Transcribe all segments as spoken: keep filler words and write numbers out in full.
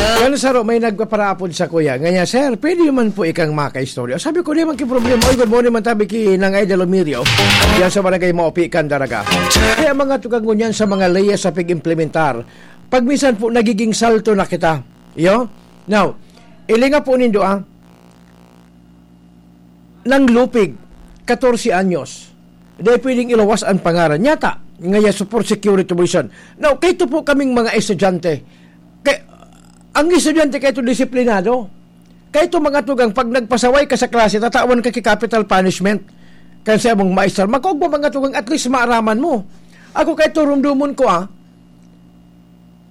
Yan saro, may nagpaparapod sa kuya. Ngaya, "Sir, pwede man po ikang makaistorya?" Sabi ko, "Di man ki problema." Oy, good morning man tabi ki Nang Idol Omirio. Yan sa barangay Maupikan, Daraga. Kaya mga tugang ngunyan sa mga layas sa pag-implementar, pag minsan po nagiging salto na kita. Yo? Now, ilinga po nindo, ah. Nang Lupig, katorse anyos. Dai pwedeng ilawas an pangaran. Nyata, ngaya so for security reason. Now, kaito po kaming mga estudyante. Kay, ang estudyante kaito disiplinado. Kaito mga tugang, pag nagpasaway ka sa klase, tatawan ka ki capital punishment. Kan sa imong maestra, makog mo mga tugang, at least maaraman mo. Ako kaito rumdumon ko, ah.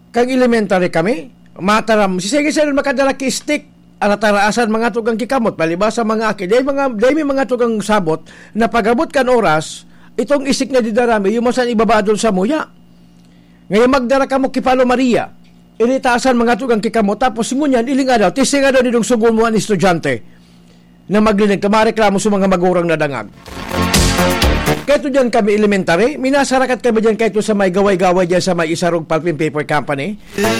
Kan elementary kami, mataram, si sige sir makadala ki stick, arataraasan mga tugang ki kamot, palibasa mga aki, dai mga, dai may mga tugang sabot, na pag-abot kan oras, itong stick na didara mi, yung masan ibaba doon sa muya. Ngayon magdara kamo ki Palo Maria, iritaasan mga tugang ki kamot, tapos ngunyan, ilinga daw, testinga daw nidong sugo mo an estudyante. Na maglinig ka, mareklamo sa mga magurang na dangag. Kaya ito dyan kami elementary, minasarakat kami dyan kaya ito sa may gaway-gaway dyan sa may Isarog Pulp and Paper Company.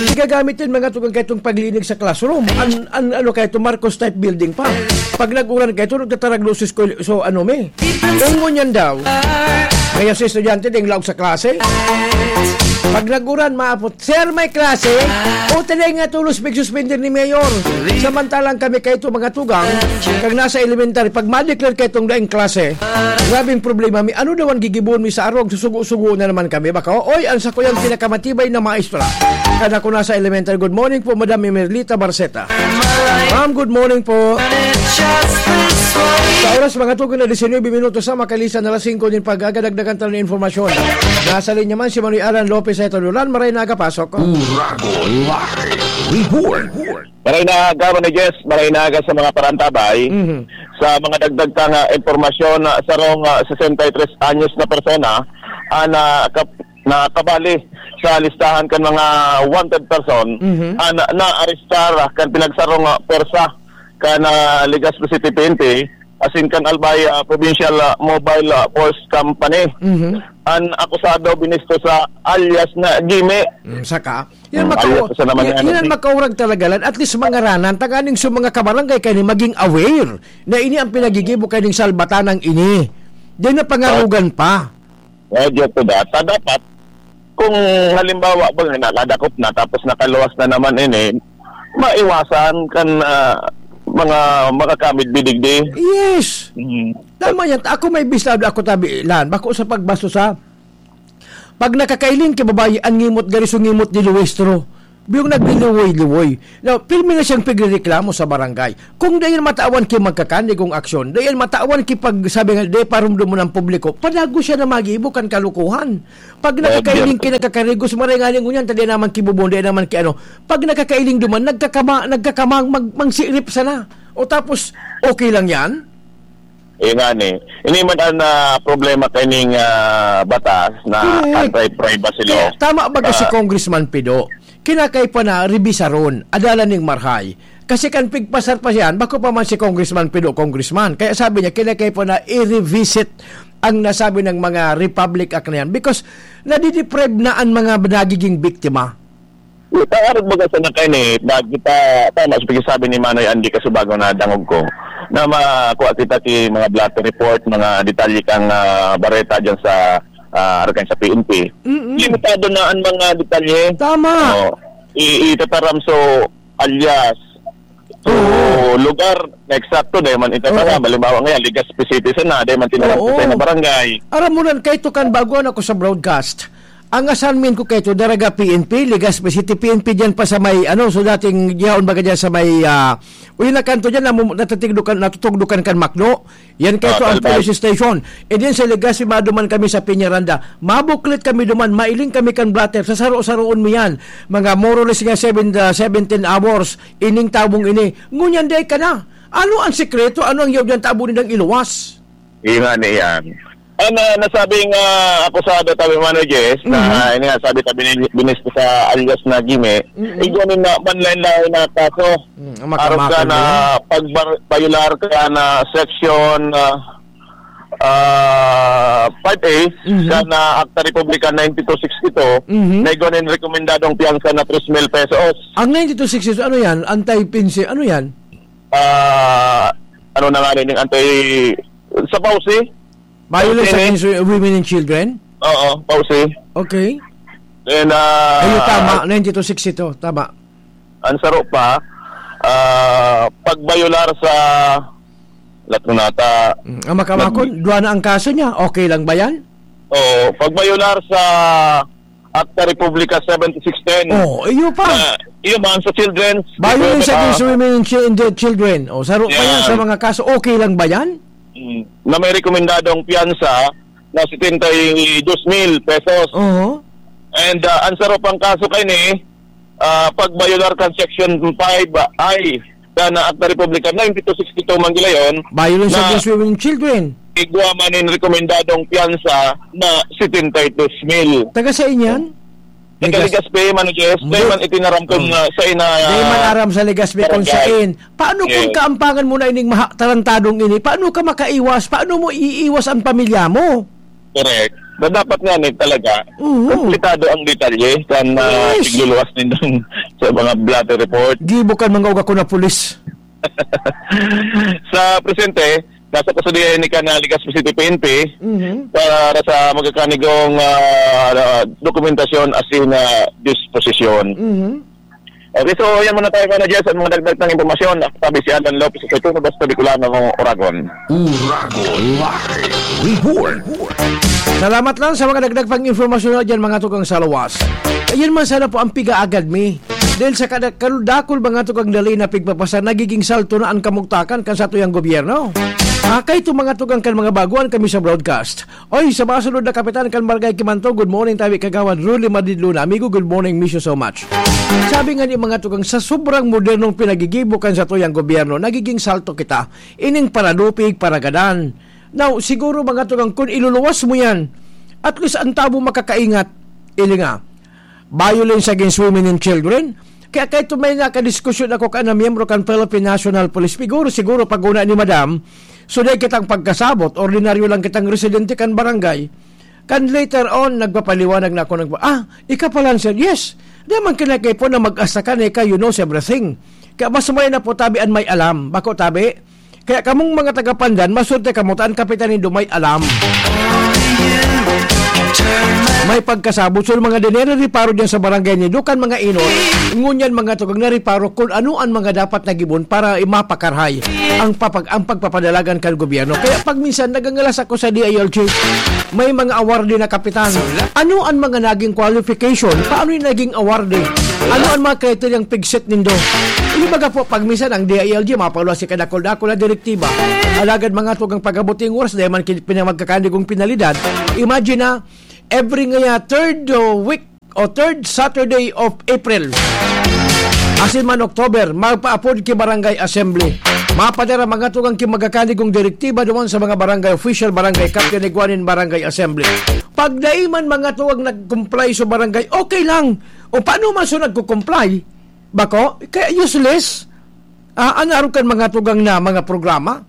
Igagamit yun mga tugang kaya itong paglinig sa classroom. An, an, ano kaya ito, Marcos type building pa. Pag nag-uran kaya ito, nagtatarag luces ko, so ano me. Kung ngunyan daw, kaya sa estudyante, ding laog sa klase. Pag nag-uran, maapot, "Sir, may klase?" O, talay nga tulos, big suspender ni Mayor. Samantalang kami kaito mga tugang, kag nasa elementary, pag ma-declare kaitong daing klase, grabing problema mi. Ano daw ang gigibohon mi sa arog? Susugo-sugo na naman kami. Baka, "Oy, ang sakuyang pinakamatibay na maestra." Kada ko nasa elementary, "Good morning po, Madam Emerlita Barceta." "Ma'am, good morning po." Sa oras, mga tugang na diecinuebe minutos sa makalisan na alas singko din pag-agadagdagan tayo ng informasyon. Nasa linya man si Manoy Alan Lopez sa Etodolan. Maray na agapasok. Urago Live Report. Maray na aga, Manoy Jess. Maray na aga sa mga parantabay. Mhm. Sa mga dagdag ka nga impormasyon, ah, sarong, ah, sesenta y tres anyos na persona, ah, na kap-, na kabali sa listahan kan mga wanted person, Mhm. ah, na, naarestar, ah, kan pinagsarong, ah, pwersa kan, ah, Legazpi City P N P, asin kan Albay, ah, Provincial, ah, Mobile, ah, Force Company. Mhm. An akusado binisto sa alias na Jimmy. Mm, saka, yan Mm, makau-, alias sa naman yan, yan ang yan, eh. Makaurag talaga lan, at least mangaranan, tanganing sa mga kabarangay kayo maging aware na ini ang pinagigibo kayo ng salbatanang ini. Di na pangarugan pa. Well, due to that, ah, dapat, kung halimbawa ba nga nakadakop na tapos nakaluwas na naman ini, maiwasan kan, ah, mga makakamid bidigdi. Yes. Mm. Tama yan. Ako may bisado ako tabi, Lan. Bako sa pagbasto sa, pag nakakailing ki babayi, an ngimot gari so ngimot ni Luistro. Biyong nagliliwoy-liwoy. Now, pirmi na siyang pigrereklamo sa barangay. Kung dayon matawan ki magkakandigong aksyon, dayon matawan ki pag, sabi nga, di parumdum mo ng publiko, padago siya na magibo kan kalukuhan. Pag Well, nakakailing ki nagkakarigos, maray nga ning ngunyan, ta di naman ki bubon, di naman ki ano. Pag nakakailing duman, nagkakama-, nagkakamang mag-, mangsirip sana. O tapos, okay lang yan? Eh, nga ni. Ini man ang, ah, problema kaining, ah, batas na Correct. anti-privacy Kaya law. tama ba ka si Ah. Congressman Pido? Kinakay pa na rebisaron, adalan ning marhay. Kasi kan pigpasar pa siyan, bako pa man si Congressman Pido, Congressman. Kaya sabi niya, kinakay pa na i-revisit ang nasabi ng mga Republic Act na yan. Because nadideprive na ang mga nagiging biktima. Ang arog baga sana kaini, na kita, tama sa pagkasabi ni Manoy Andy Casubago na dangog ko, na makuha kita ki mga blotter report, mga detalye kang, ah, bareta dyan sa, ah, Arkan sa P N P. Mm-mm. Limitado na ang mga detalye. Tama. Oo. I-, itataram so alias, so Oo. lugar na eksakto, dahil man itataram. Oo. Halimbawa ngayon, Legazpi City sana, dahil man tinaram Oo. sa na barangay. Aram mo nan, kay tukan bago ako sa broadcast. Ang assignment ko kay to, Daraga P N P, Legazpi City P N P dyan pa sa may, ano, so dating yaon baga dyan sa may, ah, uy, nakanto dyan, namu-, natatigdukan, natutugdukan kan Macdo. Yan kay Ah, to ang Talbay. police station. And then sa Legazpi, maduman kami sa Peñaranda. Mabuklit kami duman, mailing kami kan blotter, sa saro-saroon mi yan. Mga more or less nga seven, ah, seventeen hours, ining tabong ini. Ngunyan day ka na. Ano ang sikreto? Ano ang yaw dyan tabo nindang iluwas? Iyo nga ni yan. Ang, ah, nasabing, ah, akusado, tabi Manoy Jess, na, Mhm. ah, ini nga, sabi tabi ni, binis ko sa alias na Gime, Mhm. igwa ni na, manlain-lain na kaso. Mm, ang Arog ka makamako na na yan. pagbar-, bayular ka na section, ah, ah, five A, Mhm. kan, ah, Acta Republica ninety-two sixty-two, Mhm. na igwa nin rekomendadong piyansa na tres mil pesos. Ang ninety-two sixty-two, ano yan? Anti-pinsi, ano yan? Ah, ano na nga rin yung anti-, sa P A W C? Violence P A W C ni? Against wi-, women and children? Oo, P A W C. Okay. Then, ah, Ayun, tama. Ninety-two sixty-two, tama. Ang saro pa, ah, pagbayolar sa lahat ng nata-, Mm, ang makamakon, nag- duwa na ang kaso niya. Okay lang ba yan? Oo, pagbayolar sa Acta Republica seventy-six ten. Oh, iyo pa. Ah, iyo man sa children's Violence development, against ah, women and chi-, and their children. Oh, saro pa yan sa Yan. mga kaso. Okay lang ba yan? Mm, na may rekomendadong piyansa na setenta y dos mil pesos. Oo. And, ah, ang saro pang kaso kaini, ah, pagbayolar kan Section five I kan Acta Republica ninety-two sixty-two Manggulayon Violence na against women and children. Igwa man nin rekomendadong piyansa na setenta y dos mil. Taga saan yan? Taga Legazpi. Legazpi, Mano Jess. Hindi. Dahil man itinaram ko Oh. na sa ina-, Di man aram sa Legazpi kung barangay. Sain. Paano kung Yes. kaampangan mo na ining maha-, tarantadong ini? Paano ka makaiwas? Paano mo iiwas ang pamilya mo? Correct. Na dapat nga ni talaga, Mhm. kompletado ang detalye kan, ah, Yes. pigluluwas nindang sa mga blotter report. Gibo kan mga uga ko na pulis. Sa presente, nasa kustodiya ni kan, ah, Legazpi City P N P Mhm. para sa magkakanigong, ah, dokumentasyon asin, ah, disposisyon. Mhm. Okay, so yan muna tayo, Mano Jess, ang mga dagdag na impormasyon. Ako sabi si Alan Lopez, sa Tuno, basta Bicolano, Oragon. Oragon Live Report. Salamat lang sa mga dagdag pang impormasyon na dyan, mga tugang sa lawas. Ayun man sana po ang pigaagad mi. Dahil sa kada-, kadakul-dakul, mga tugang, dali na pigpapasa, nagiging salto na ang kamugtakan kan satuyang gobyerno. Ah, kay itong mga tugang kan mga baguan kami sa broadcast. Oy, sa mga sunod na kapitan kan Barangay Kimanto, good morning, tabi Kagawad Rolly Madrid Luna. Amigo, good morning, miss you so much. Sabi nga ni mga tugang, sa sobrang modernong pinagigibo kan satuyang gobyerno, nagiging salto kita. Ining paradupig, paragadan. Now, siguro mga tugang, kung iluluwas mo yan, at least ang tao makakaingat. Ili nga, violence against women and children. Kaya kahit may nakadiskusyon ako kan na miyembro kan Philippine National Police, siguro, siguro pag una ni Madam, so dahil kitang pagkasabot, ordinaryo lang kitang residente kan barangay. Kan later on, nagpapaliwanag na ako, nagpa-, "Ah, ika pala, sir." "Yes." Di man kinakaipo na mag-asa ka na ika, you knows everything. Kaya mas may na po tabi an may alam. Bako tabi, kaya kamong mga taga-Pandan, maswerte kamo ta an kapitan nindo may alam. May pagkasabot sa mga dinere reparo diyan sa barangay nindo kan mga inot. Ngunyan mga tugang na reparo kung ano ang mga dapat na gibon para mapakarahay ang papag-, ang pagpapadalagan kan gobyerno. Kaya pag minsan nagangalas ako sa D I L G, may mga award din na kapitan. Ano ang mga naging qualification? Paano yung naging award eh? Ano ang mga kriteryang pigsit nindo? Hindi baga po, pag minsan ang D I L G, mapaluwas si kadakol-dakol na direktiba. Alagad mga tugang pag-abot yung oras, dahil man kin-, pinamagkakandigong penalidad. Imagine na, every ngaya third, uh, week o third Saturday of April, asin man October, magpaapod ki barangay assembly. Mapadara mga tugang ki magkakandigong direktiba duman sa mga barangay official, barangay captain, igwanin barangay assembly. Pag dai man mga tugang nag-comply sa barangay, okay lang. O paano man so nagko-comply? Bako? Kaya useless. Ah, ano arog kan mga tugang na mga programa?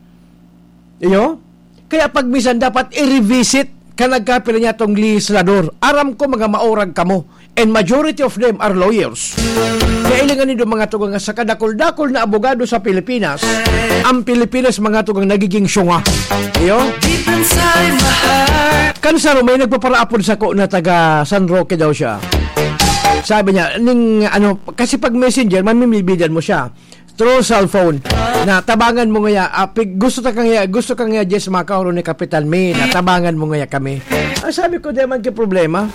Iyo? Kaya pag minsan dapat i-revisit ka nagkapila niya tong legislador. Aram ko mga maurag kamo. And majority of them are lawyers. Kaya ilingan nindo mga tugang sa kadakol-dakol na abogado sa Pilipinas, ang Pilipinas mga tugang nagiging syunga. Iyo? Deep inside my heart. Kan saro, may nagpaparaapod sako na taga San Roque daw siya. Sabi niya, ning, ano, kasi pag messenger, mamimibidan mo siya. Through cellphone. Na tabangan mo ngaya, ah, pig-, gusto ta kang ya-, gusto kang ya, Jess, makaoro ni Kapitan May, na tabangan mo ngaya kami. Ang sabi ko, "Di man ki problema."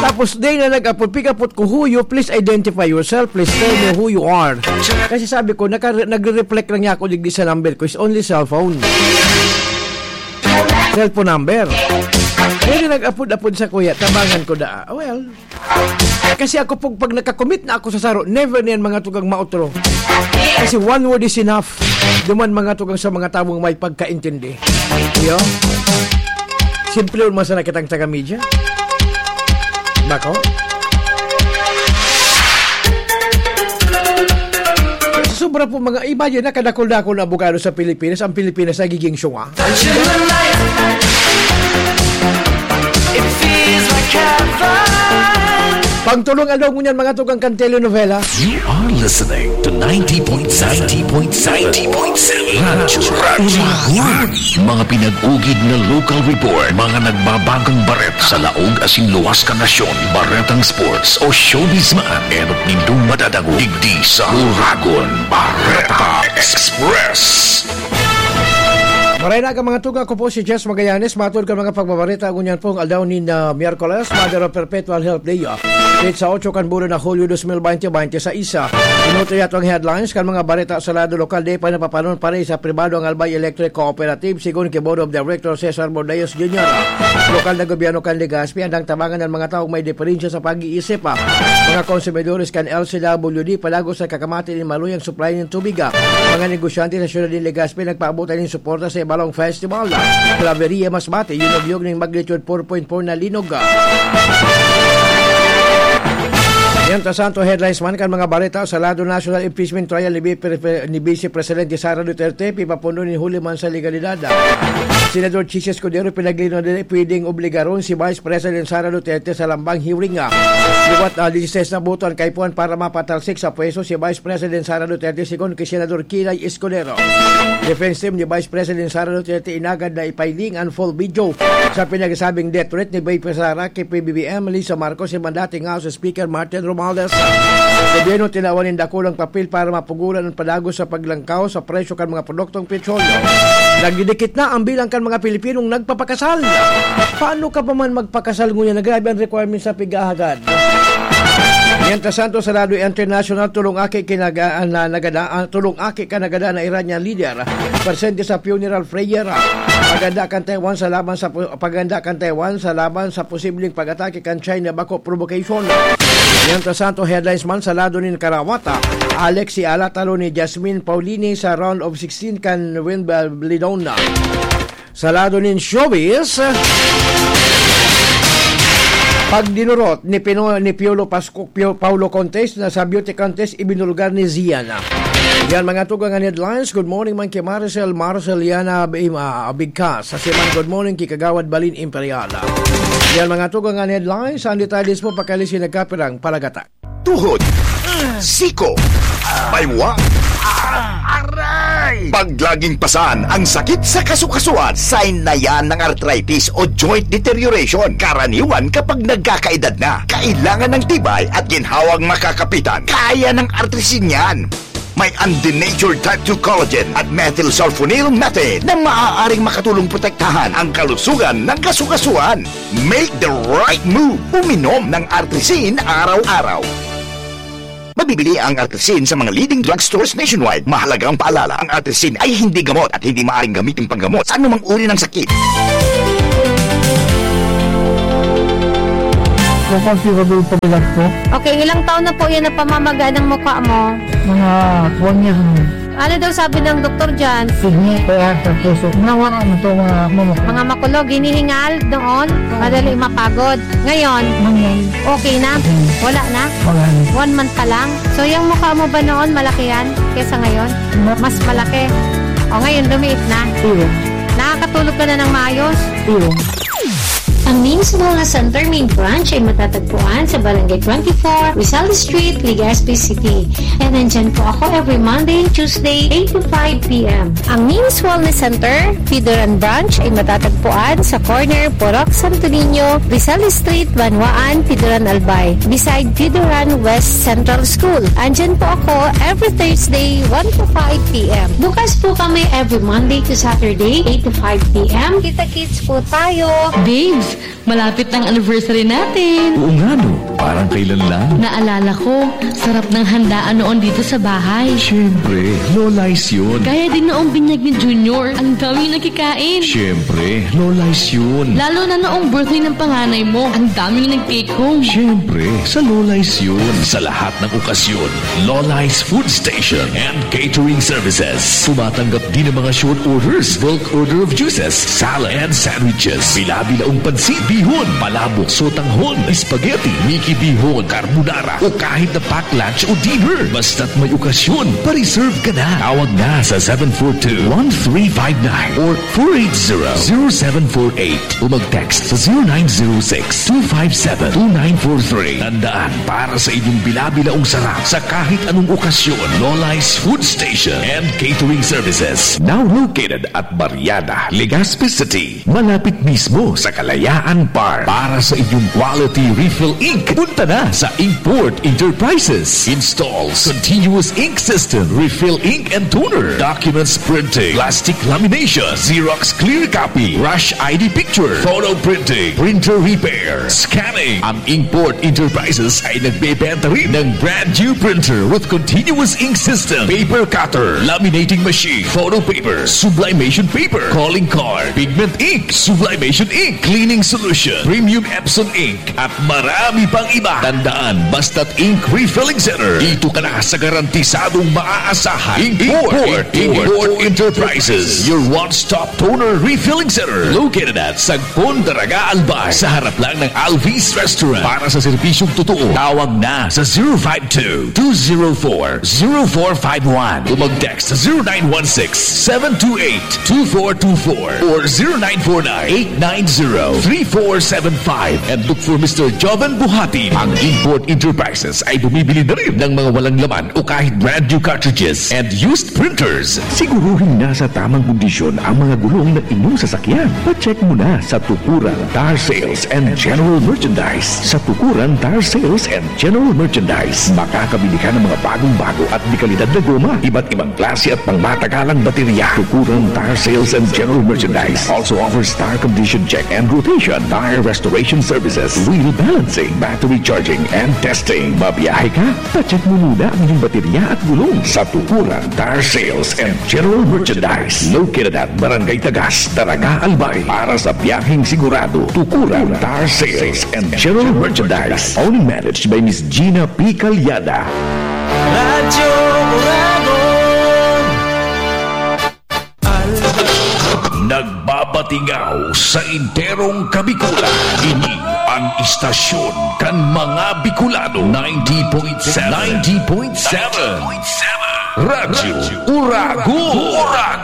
Tapos, day na nag-apod, pig-apod ko, "Who you? Please identify yourself. Please tell me who you are." Kasi sabi ko, naka-, nagre-reflect lang niya ako digdi sa number ko. It's only cellphone. Cellphone number. Day na nag-apod-apod sa kuya, tabangan ko da. Well, kasi ako pag, pag nakakommit na ako sa saro, never niyan mga tugang maotro. Kasi one word is enough. Duman mga tugang sa mga tawong may pagkaintindi. Iyo? Simple man sana kitang taga-media. Bako? Sa Sobra po mga, imagine na kadakol-dakol na abogado sa Pilipinas, ang Pilipinas nagiging syunga. It feels like heaven. Pangtulong aldaw ngunyan, mga tugang, kan telenovela. You are listening to ninety point seven, ninety point seven, ninety point seven Radyo Uragon. Mga pinag-ugid na local report, mga nagbabagong bareta sa laog asin luwas kan nasyon, baretang sports o showbiz man, enot nindong madadangog digdi sa Uragon Bareta Express. Maray na ka, mga tugang, ako po si Jess Magallanes. Matod kan mga pagbabareta, ngunyan pong aldaw nin, ah, Miyerkules, Mother of Perpetual Help Day, ah, date sa otso kan bulan na Hulyo dos mil bente, bente sa isa. Inutoy ato ang headlines kan mga bareta sa lado lokal. Di pa napapanon pare sa pribado ang Albay Electric Cooperative, sigon ki Board of Director Cesar Bordeos Junior. Lokal na gobyerno kan Legazpi, andang tabangan ang mga taong may diferensya sa pag-iisip, ah. Mga konsumidores kan L C W D, palagos sa kakamati nin maluyang supply nin tubig, ah. Mga negosyante sa siyudad nin Legazpi nagpaabot nin suporta sa Ibalong Festival, ah. Claveria, Masbate, yunogyog nin magnitude four point four na linog, ah. Mientras tanto, headlines man kan mga bareta sa lado national, impeachment trial ni Vice Pre-, ni Vice Presidente Sara Duterte, pipapundo nin huli man sa legalidad, ah. Senador Chiz Escudero pinaglinaw na pwedeng obligaron si Vice President Sara Duterte sa lambang hearing, ah. Liwat na dieciséis na boto ang kaipuhan para mapatalsik sa pwesto si Vice President Sara Duterte, sigon ki Senador Kiray Escudero. Defense team ni Vice President Sara Duterte inagad na ipailing an full video sa pinagsabing death threat ni Vice Sara ki P B B M Lisa Marcos, si dating House Speaker Martin Romualdez. Gobyerno tinawan nin dakulang papel para mapugulan an padagos sa paglangkaw sa presyo kan mga produktong petrolyo. Nagdidikit na ang bilang kan mga Pilipinong nagpapakasal. Paano ka pa man magpakasal ngunyan na grabe ang requirements sa pighahagad? Mientras tanto, sa lado international, tulong aki kinaga-, na nagada-, ah, tulong aki ka nagada na Iranian leader, presente sa funeral prayer. Paganda kan Taiwan sa laban sa pu-, paganda kan Taiwan sa laban sa posibleng pag-atake kan China, bako provocation. Mientras tanto, headlines man sa lado nin karawata, Alex si Ala talo ni Jasmine Paulini sa round of sixteen kan Wimbledon. Sa lado nin showbiz, pagdinurot ni Pino-, ni Piolo Pascu-, Pio-, Paulo Contes na sa beauty contest ibinulgar ni Ziana. Yan mga tugang an headlines. Good morning man ki Maricel, Marceliana Ab-, ah, Abigkas. Sa Siman, good morning ki Kagawad Balin Imperial. Yan mga tugang an headlines. Ang detalles po pagkali si nagkapirang palagata. Tuhod, siko, baywa, aray! Pag laging pasan ang sakit sa kasukasuan, sign na yan ng arthritis o joint deterioration. Karaniwan kapag nagkakaedad na, kailangan ng tibay at ginhawang makakapitan. Kaya ng Artrisin yan. May undenatured type two collagen at methylsulfonyl methane na maaaring makatulong protektahan ang kalusugan ng kasukasuan. Make the right move. Uminom ng Artrisin araw-araw. Mabibili ang Artrisin sa mga leading drugstores nationwide. Mahalagang paalala, ang Artrisin ay hindi gamot at hindi maaaring gamitin panggamot sa anumang uri ng sakit. Kung considerable pag-ilag ko, Okay, ilang taon na po yan na pamamaga ng mukha mo? Mga one year na. Ano daw sabi ng doktor dyan? Kidney, kaya sa puso. Nawala na to, mga mama. Mga makulog, hinihingal noon, madali mapagod. Ngayon, Mangyay. Okay na? Hmm. Wala na? Wala na. One month pa lang? So, yung mukha mo ba noon, malaki yan kesa ngayon? Ma- Mas malaki. O, ngayon, lumiit na. Iyo. Nakakatulog ka na ng maayos? Iyo. Ang Names Wellness Center Main Branch ay matatagpuan sa Barangay twenty-four, Rizal Street, Legazpi City. And nandyan po ako every Monday and Tuesday, eight to five p m. Ang Names Wellness Center, Pidoran Branch, ay matatagpuan sa corner Purok Santo Niño, Rizal Street, Banwaan, Pidoran, Albay, beside Pidoran West Central School. Andyan po ako every Thursday, one to five p m. Bukas po kami every Monday to Saturday, eight to five p m. Kita-kits po tayo. Babes, malapit na ang anniversary natin. Oo nga, no? Parang kailan lang. Naalala ko, sarap ng handaan noon dito sa bahay. Siyempre, Lola's yun. Kaya din noong binyag ni Junior, ang daming nakikain. Siyempre, Lola's yun. Lalo na noong birthday ng panganay mo, ang daming nag-take home. Siyempre, sa Lola's yun. Sa lahat ng okasyon, Lola's Food Station and Catering Services. Tumatanggap din ng mga short orders, bulk order of juices, salad and sandwiches, bila-bilaong pansit, bihon, palabok, sotanghon, spaghetti, mix Ibihon, carbonara, o kahit na pack lunch o dinner. Basta't may okasyon, pa-reserve ka na. Tawag na sa seven four two, one three five nine or four eight zero, zero seven four eight o mag-text sa zero nine zero six, two five seven, two nine four three. Tandaan, para sa inyong bila-bilaong sarap sa kahit anong okasyon, Lola's Food Station and Catering Services. Now located at Barriada, Legazpi City. Malapit mismo sa Kalayaan Park. Para sa inyong quality refill ink, punta na sa Inkport Enterprises. Installs continuous ink system, refill ink and toner, documents printing, plastic lamination, Xerox clear copy, rush I D picture, photo printing, printer repair, scanning. Ang Inkport Enterprises ay nagbebenta rin ng brand new printer with continuous ink system, paper cutter, laminating machine, photo paper, sublimation paper, calling card, pigment ink, sublimation ink, cleaning solution, premium Epson ink, at marami pang iba. Tandaan, basta't ink refilling center, dito ka na sa garantisadong maaasahan. Import, Import, Import Enterprises, your one-stop toner refilling center. Located at Sagpon, Daraga, Albay, sa harap lang ng Alvis Restaurant. Para sa serbisyong totoo, tawag na sa zero five two, two zero four, zero four five one o mag-text sa zero nine one six, seven two eight, two four two four or zero nine four nine, eight nine zero, three four seven five and look for Mister Joven Buhatin. Ang Import Enterprises ay bumibili na rin ng mga walang laman o kahit brand new cartridges and used printers. Siguruhing nasa tamang kondisyon ang mga gulong na inyong sasakyan. Pa-check mo na sa Tukuran Tire Sales and General Merchandise. Sa Tukuran Tire Sales and General Merchandise, makakabili ka ng mga bagong-bago at dekalidad na goma, iba't ibang klase at pangmatagalang baterya. Tukuran Tire Sales and General Merchandise also offers tire condition check and rotation, tire restoration services, wheel balancing, battery charging, and testing. Mabiyahe ka? Pa-check mo muna ang iyong baterya at gulong sa Tukuran Tire Sales and General Merchandise. Located at Barangay Tagas, Daraga, Albay. Para sa biyaheng sigurado, Tukuran Tire Sales and General Merchandise. Owned and managed by Miss Gina P. Calyada. Radyo Uragon. Nagbabatingaw sa enterong Kabikulan. Ini ang istasyon kan mga Bicolano, ninety point seven. Ninety point seven. Radyo Uragon.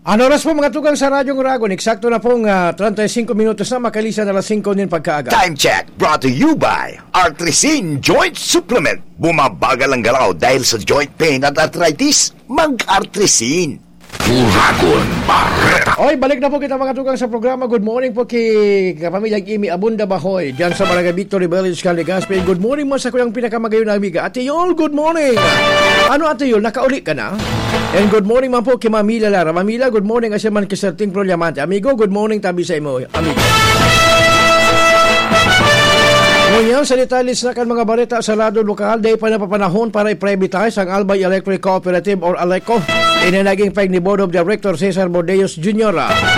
Ang oras po, mga tugang, sa Radyong Uragon, eksakto na pong, ah, treinta y cinco minutos na makalisan alas singko nin pagkaaga. Time check, brought to you by Artrisin Joint Supplement. Bumabagal ang galaw dahil sa joint pain at arthritis? Mag-Artrisin. Uragon Bareta. Oy, balik na po kita, mga tugang, sa programa. Good morning po ki kapamilyang Imi Abunda Bahoy, diyan sa Barangay Victory Village, Legazpi. Good morning mo sa kuyang pinakamagayon na amiga, Ate Yol. Good morning. Ano, Ate Yol, nakauli ka na? And good morning man po ki Ma'am Mila Lara. Ma'am Mila, good morning. Asya man ki Sir Ting Pro Diamante. Amigo, good morning tabi sa imo, amigo. Ngunyan, sa detalye na kan mga bareta sa lado lokal, dai pa napapanahon para i-privatize ang Albay Electric Cooperative or ALECO. Ini naging pahayag ni Board of Director Cesar Bordeos Junior.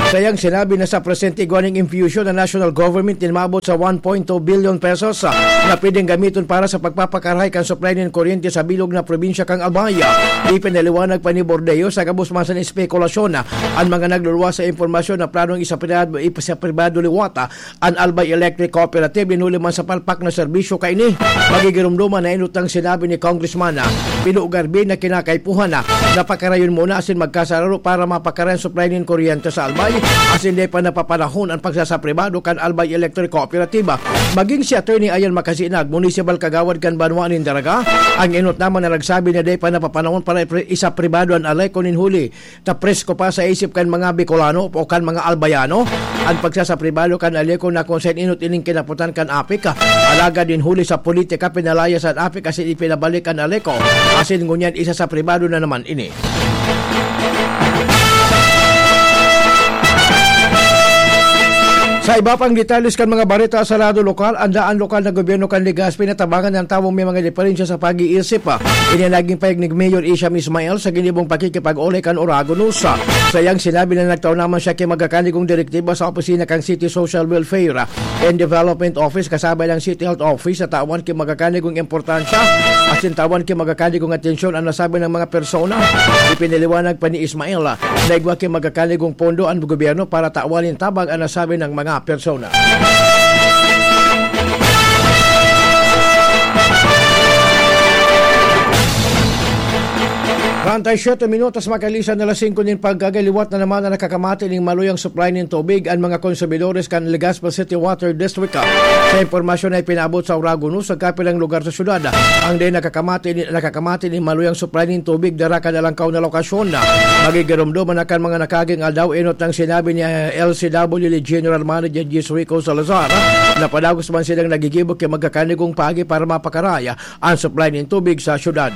Sa iyang sinabi na sa presente igwa ning impyusyon na national government nin maabot sa one point two billion pesos, ah, na pwedeng gamiton para sa pagpapakarahay kan supply nin kuryente sa bilog na probinsya kan Albay. Ipinaliwanag pa ni Bordeos, sa gabos man sa espekulasyon, ah, an mga nagluluwas sa impormasyon na planong isapribado, isapribado liwat, ah, an Albay Electric Cooperative, nin huli man sa palpak na serbisyo kaini. Magigiromdoman na enot ang sinabi ni Congressman, ah, Pino Garvin na kinakaipuhan na napakarayon muna asin magkasararo para mapakaray an supply nin kuryente sa Albay, asin dai pa napapanahon an pagsasapribado kan Albay Electric Cooperative. Maging si Attorney Ayan Makasinag, municipal kagawad kan banwa nin Daraga, ang enot naman na nagsabi na dai pa napapanahon para ipri-, isapribado an ALECO nin huli ta presko pa sa isip kan mga Bicolano o kan mga Albayano an pagsasapribado kan ALECO, na kun saen enot ining kinapotan kan APEC. Alagad nin huli sa politika, pinalayas an APEC asin ipinabalik an ALECO, asin ngunyan isasapribado na naman ini. Sa iba pang detalye kan mga bareta sa lado lokal, an daan lokal na gobyerno kan Legazpi natabangan an tawong may mga diferensya sa pag-iisip. Ini naging pahayag ni Mayor Isham Ismail sa ginibong pakikipag-olay kan Uragon News. Sa iyang sinabi na nagtao naman siya ki magakanigong direktiba sa opisina kan City Social Welfare and Development Office kasabay ng City Health Office sa tawan ki magakanigong importansya asin tawan ki magakanigong atensyon an nasabi ng mga persona. Ipinaliwanag pa ni Ismail na igwa ki magakanigong pondo an gobyerno para tawan nin tabang an nasabi ng mga persona. Antay siyete minutos makalisan na alas singko nin pagkagay, liwat na naman na nakakamati nin maluyang supply nin tubig an mga konsumidores kan Legazpi City Water District. Sa impormasyon na ipinaabot sa Oragon News, sa kapilang lugar sa syudad, ang dai nakakamati ni, nakakamati nin maluyang supply nin tubig dara kan alangkaw na lokasyon. Magigiromdom na kan mga nakaging aldaw, enot nang sinabi ni, eh, L C W General Manager Jis Rico Salazar na padagos man silang nagigibo ki magkakanigong paagi para mapakaraya ang supply nin tubig sa syudad.